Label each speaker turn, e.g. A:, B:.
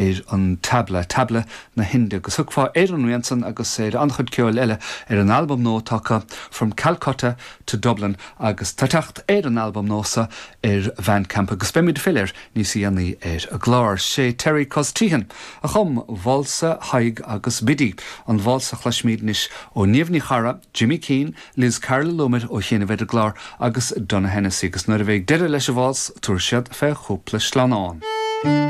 A: Ar an tabla, tabla na hInde, agus thiocfá ar an rian san agus ar an-chuid ceoil eile ar an albam nua atá acu, From Calcutta to Dublin, agus tá teacht ar an albam nua so ar Bhandcamp agus beimid ag filleadh air níos dhéanaí ar an gclár. Sé Terry Cos-Teahan a chum Válsa Thaidhg agus Biddy, an válsa a chloisfimid anois ó Niamh Ní Charra, Jimmy Keane, Liz Carroll a luamar ó chianaibh ar an gclár agus Donogh Hennessy agus nuair a bheidh deireadh leis an válsa tabharfaidh siad fé chúpla sleamhnán.